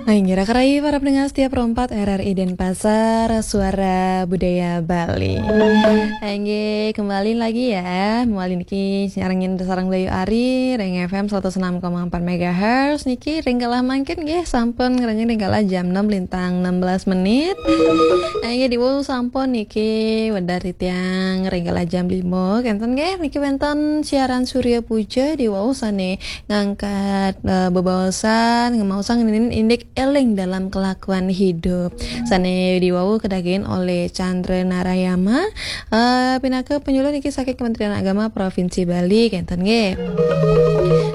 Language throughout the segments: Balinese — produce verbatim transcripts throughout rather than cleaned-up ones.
Inggih, raka rayi para pendengar setia Pro empat R R I Denpasar, Suara Budaya Bali. Inggih, kembali lagi ya, mawali niki nyarengin sareng Bayu Ari, ring F M seratus enam koma empat megahertz, niki ring galah mangkin nggih sampun ngranjing ring galah jam enam lintang enam belas menit. Inggih, diwau sampun niki wedar titiang ring galah jam lima, kenten nggih, niki wenten siaran Surya Puja, diwau sane ngangkat, eh, bebaosan, ngemaosang ngenenin indik eling dalam kelakuan hidup. Sane diwau kadagingin oleh Chandra Narayama, eh, pinaka penyuluh niki saking Kementerian Agama Provinsi Bali, kenten nggih.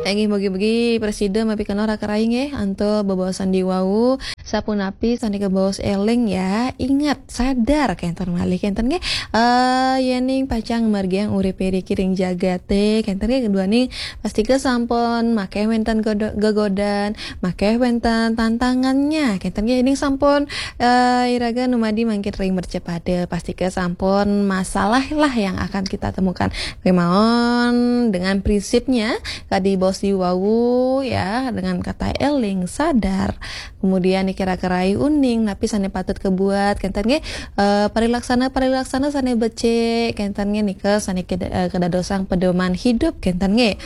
Inggih, mugi-mugi prasida mapikenoh raka rayi nggih, antuk bebaosan diwau, sapunapi sane kabaos eling ya, ingat, sadar, kenten malih, kenten nggih. Eh, yening pacang margiang uripe riki ring jagate, kenten nggih, keduaning pastika sampun makeh wenten godo-, gegodan, makeh wenten tantangannya, kenten nggih. Yening sampun, eh, iraga numadi mangkin ring mercapada, pastika sampun masalah lah yang akan kita temukan. Kemawon dengan prinsipnya, kadi baos diwau ya, dengan kata eling, sadar, kemudian niki raka rayi uning napi sane patut kabuat, kenten nggih. Eh, parilaksana-parilaksana sane becik, kenten nggih, nika sane keda-, eh, kadadosang pedoman hidup, kenten nggih.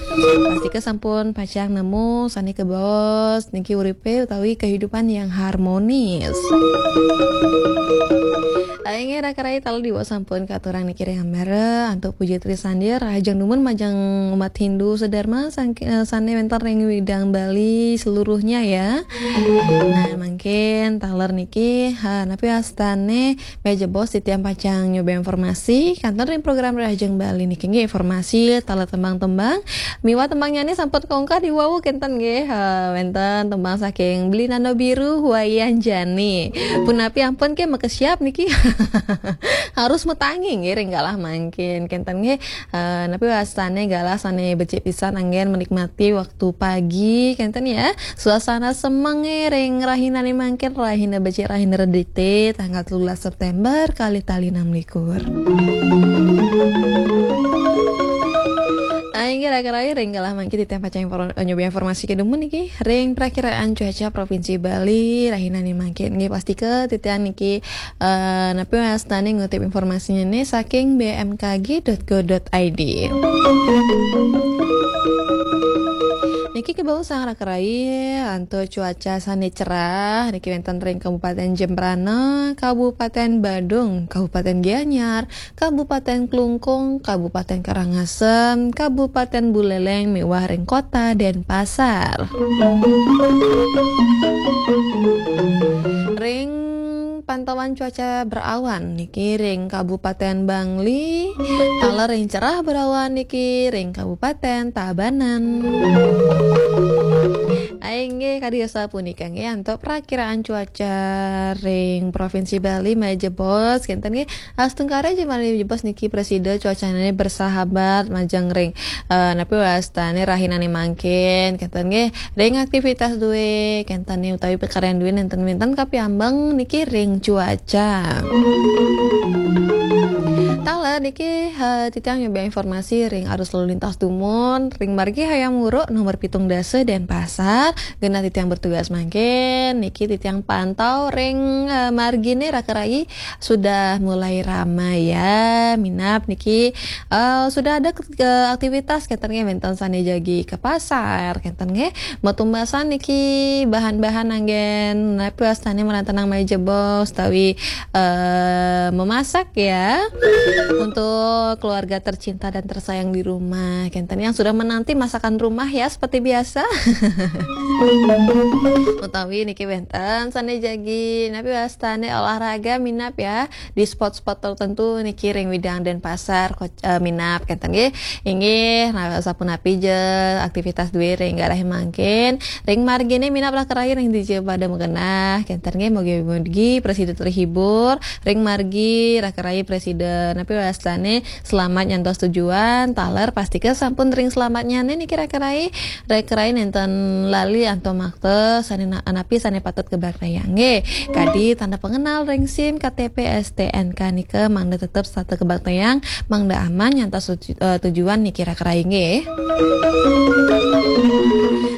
Pastika sampun pacang nemu sane kabaos niki uripe utawi kehidupan yang harmonis. Inggih, raka rayi, taler diwau sampun katurang niki ring ambara antuk puja trisandia, rahajeng dumun majeng umat Hindu sedharma sang-, eh, sane wenten ring widang Bali seluruhnya ya. Nah, mangkin taler niki, ha, napi wastane meja bos titiang pacang nyoba informasi, kenten ring program Rahajeng Bali niki nggih, informasi taler tembang-tembang. Miwah tembangnyane sampun kongkah diwau, kenten nggih, ha, wenten tembang saking Beli Nano Biru, Wayan Jani. Punapi ampun ke makesiap niki. Harus matangi nggih ring galah mangkin, kenten nggih. Eh, napi wastane galah sane becik pisan anggen menikmati waktu pagi, kenten ya. Suasana semenge ring rahinane mangkin, rahina becik, rahina Redite, tanggal telulas September, kalih tali enam likur. Inggih, raka rayi, ring galah mangkin titiang pacang infor-, nyoba informasi kedumun niki. Ring prakiraan cuaca Provinsi Bali, rahinane mangkin nggih, pastika titiang niki, eh, napi wastane ngutip informasinyane saking B M K G dot go dot I D. Niki kabaosang raka rayi antuk cuaca sane cerah niki wenten ring Kabupaten Jembrana, Kabupaten Badung, Kabupaten Gianyar, Kabupaten Klungkung, Kabupaten Karangasem, Kabupaten Buleleng miwah ring Kota Denpasar. Ring pantauan cuaca berawan niki ring Kabupaten Bangli, taler ring cerah berawan niki ring Kabupaten Tabanan. Inggih, kadi asapunika nggih antuk prakiraan cuaca ring Provinsi Bali, meja bos, kenten nggih. Astungkara ja malih jebos niki prasida cuacane bersahabat majeng ring, eh, napi wastane rahinane mangkin, kenten nggih. Ring aktivitas due, kenten nggih, utawi pakaryan due nenten wenten kapiambeng niki ring cuaca. Taler niki, eh, titiang nyoba informasi ring arus lalu lintas dumun, ring margi Hayam Wuruk nomor pitung dasa Denpasar, genah titiang bertugas mangkin, niki titiang pantau ring, eh, margine raka rayi sudah mulai ramai ya, minab niki, eh, sudah ada ke, ke aktivitas, kenten nggih, wenten sane jagi ke pasar, kenten nggih, matumbasan niki bahan-bahan anggen napi wastane marantenang meja bos utawi, eh, memasak ya untuk keluarga tercinta dan tersayang di rumah, kenten yang sudah menanti masakan rumah ya seperti biasa. Utawi niki wenten sane jagi napi wastane olahraga, minab ya, di spot-spot tertentu niki ring Widang Denpasar, Koc-, eh, minab, kenten nggih. Inggih, nah, sapunapi ja aktivitas due ring galah mangkin, ring margine minab raka rayi ring dija pada magenah, kenten nggih, mugi-mugi prasida terhibur ring margi raka rayi prasida napi wastane selamat nyantos tujuan, taler pastika sampun ring selamatnyane niki raka rayi, raka rayi nenten lali antuk makta sane na-, napi sane patut kabaktayang nggih. Kadi tanda pengenal ring sim, K T P, S T N K nika mangda tetep setata kabaktayang, mangda aman nyantos tuju-, eh, tujuan niki raka rayi nggih.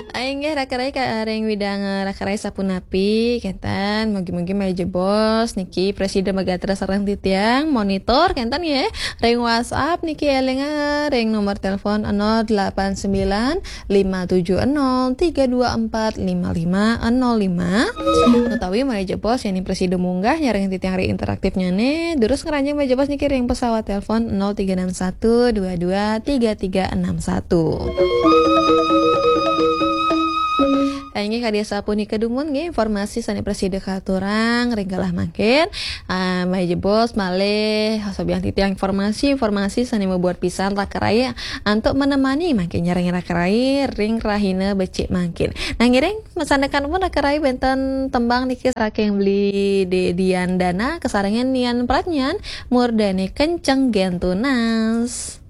Inggih, raka rai, ka ring widang, eh, raka rai sapunapi, kenten, mugi-mugi malih jebos niki prasida magatra sareng titiang, monitor, kenten ya, ring WhatsApp niki, elinga ring nomor telepon nol delapan sembilan lima tujuh nol tiga dua empat lima lima nol lima, utawi malih jebos yén prasida munggah nyareng titiang ring interaktifnyane, durus ngranjing malih jebos niki ring pesawat telepon nol tiga enam satu dua dua tiga tiga enam satu. Inggih, kadi sapunika dumun nggih informasi sane prasida katurang ring galah mangkin. Ah, malih jebos malih sobiahang titiang informasi-informasi sane mabuat pisan raka rai antuk menemani mangkin nyareng raka rai ring rahina becik mangkin. Nah, ngiring masandekan pun raka rai wenten tembang niki saking Beli De Dian Dana, kasarengan Nian Pradnyan, Murdane Kenceng Gen Tunas.